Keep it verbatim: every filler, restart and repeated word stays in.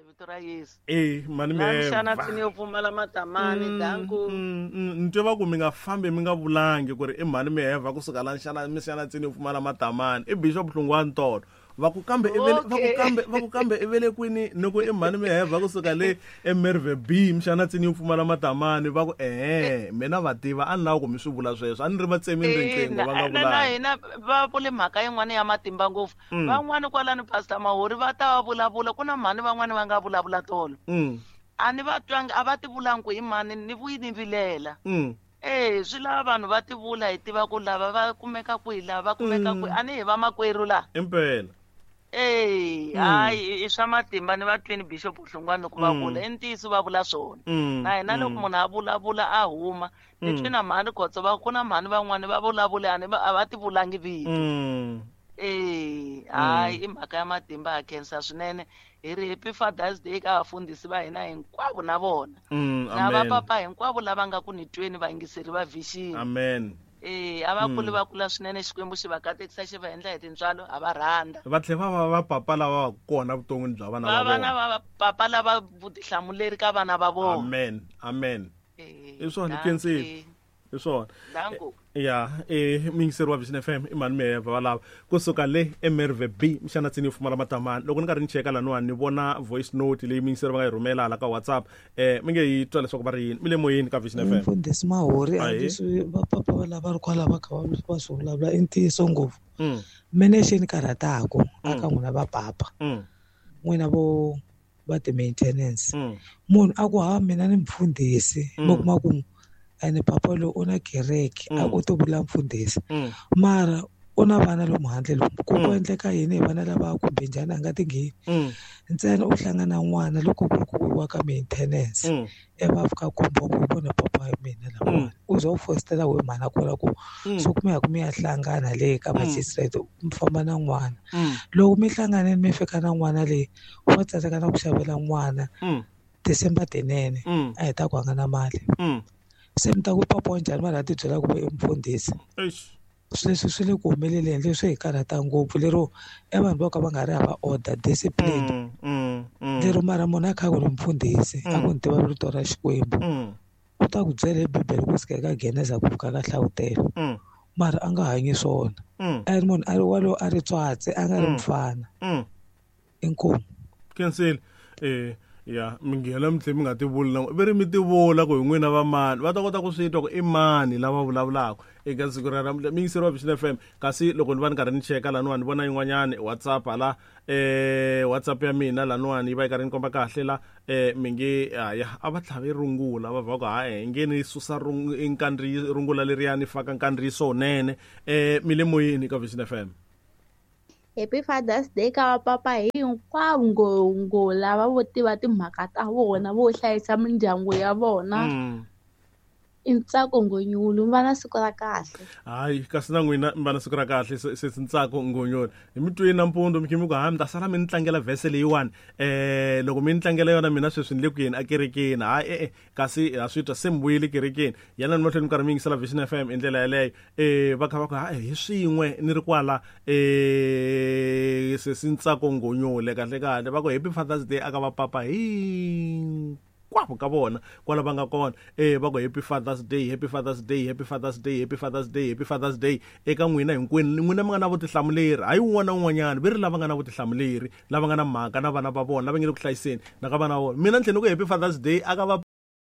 Vito ra Yesu. E mani mixana tsini yo pfumala matamani danku. Ni twe va ku mi nga fambi mi nga vulangi ku ri i mhani Miheva kusuka la nxana mixana tsini yo pfumala matamani i Bishop Hlungwani tolo. Va ku kambe i vele va ku kambe va ku kambe i vele kwini ni ku i mhani Miheva kusuka le eMerve B mixana tsini yo pfumala matamani va ku ehe mina va tiva a ni lava ku mi swi vula sweswo a ni ri va tsemini riqingho va nga vulanga. Na hina va vule mhaka yin'wana ya matimba ngopfu. Van'wani kwalani Pastor Mahori va ta va vulavula ku na mhani van'wani va nga vulavula tolo. A ni va twangi a va ti vulangi ku i mani ni vuyi ni vilela. Eh swi lava vanhu va ti vula hi tiva ku lava va kumeka kwihi lava va kumeka kwihi a ni hi vamakwerhu la. Impela. Eh hayi i swa matimba ni va twini Bishop Hlungwani loko va vula i ntiyiso va vula swona. Na hina loko munhu a vulavula a huma ni twi na mhani Khotso va ku na mhani van'wani va vulavula a ni a va ti vulangi vito. Eh hayi i mhaka ya matimba ha khensa swinene hi ri Happy Father's Day ka vafundhisi va hina hinkwavo na vona. Na va papa hinkwavo lava nga ku ni tweni vayingiseri va Vision. Amen. Eh a va kuli va kula swinene Xikwembu xi va katekisa xi va endla hi tintswalo a va rhandza. Va tlhela va va papa lava va kona vuton'wini bya vana va vona. Va vana va papa lava vutihlamuleri ka vana va vona. Amen. Amen. I swona khensile. I swona. Danku. Ya eh miyingiseri wa Vision F M i mhani Miheva va lava kusuka le eMerve B mixana tsini yo pfumala matamani. Loko ni karhi ni cheka laniwani ni vona voice note leyi miyingiseri va nga yi rhumela hala ka WhatsApp eh mi nge yi twa leswaku va ri yini mi le moyeni ka Vision F M. Mfundhisi Mahori a leswi va papa va lava ri kwala va kha va swi vulavula i ntiyiso ngopfu. Mene xi ni karhataku aka n'wina va papa n'wina vo va ti-maintenance munhu a ku ha mina ni mfundhisi mi kuma ku ene papa loyi u na kereke a ku to vula mfundhisi mara u na vana lomu handle lomu ku ku endleka yini hi vana lava kumbe njhani a nga ti ngheni ntsena u hlangana n'wana loko ku ri ku wa ka maintenance e va fika khumba ku vona papa ya mina lavawani u za u fositela we mhana kwala ku so ku mi ya ku mi ya hlangana le ka magistrate mi famba na n'wana loko mi hlanganile mi fika na n'wana leyi wa tsandzeka na ku xavela n'wana December tinene a heta ku hanga na mali. Se mi ta ku papa wa njhani vanhu a ti byela ku i mfundhisi. Sweswi swi le ku humeleleni leswi hi karhata ngopfu lero e vanhu vo ka va nga ri hava order discipline lero mara munhu a kha ku ri mfundhisi a ku ni tiva rito ra Xikwembu u ta ku byela hi Bibele ku suka eka Geneza ku fika ka Hlavutelo mara a nga hanyi swona a ri munhu a ri walowo a ri tswatsi a nga ri mfana. Inkomu. Khensile. Eh ya mi nghena mi tlhe mi nga ti vuli na ve ri mi ti vula ku hi n'wina va mani va ta kota ku swi twa ku i mani lava vulavulaka eka siku ra namuntlha miyingiseri wa Vision F M. Kasi loko ni va ni karhi ni cheka laniwani ni vona yin'wanyani WhatsApp hala eh WhatsApp ya mina laniwani yi va yi karhi ni komba kahle la eh mi nge ya a va tlhave rungula va va ku hayi nge ni susa nkandri rungula leriyani faka nkandziyiso wunene eh mi le moyeni ka Vision F M. Happy Father's Day ka vapapa hinkwavo ngo lava vo tiva timhaka ta vona vo hlayisa mindyangu ya vona. I Ntsako Ngonyulu mi va na siku ra kahle. Hayi kasi na n'wina mi va na siku ra kahle se Ntsako Ngonyulu hi mi twini nampundzu mi khe mi ku hayi mi ta sala mi ni tlangela vhese leyiwani eh loko mi ni tlangela yona mina sweswi ni le ku yeni ekerekeni hayi e-e kasi ha swi twa se mi vuyile kerekeni yana ni mahlweni mi karhi mi yingisela Vision F M hi ndlela yeleyo eh va kha va ku hayi hi swin'we ni ri kwala eh sesi Ntsako Ngonyule kahle kahle va ku Happy Father's Day aka va papa hi kwavo ka vona kwala va nga kona eh va ku Happy Father's Day Happy Father's Day Happy Father's Day Happy Father's Day Happy Father's Day eka n'wina hinkwenu n'wina mi nga na vutihlamuleri hayi un'wana na un'wanyana ve ri lava nga na vutihlamuleri lava nga na mhaka na vana va vona lava nge le ku hlayiseni na ka vana va vona mina ni tlhela ni ku Happy Father's Day aka va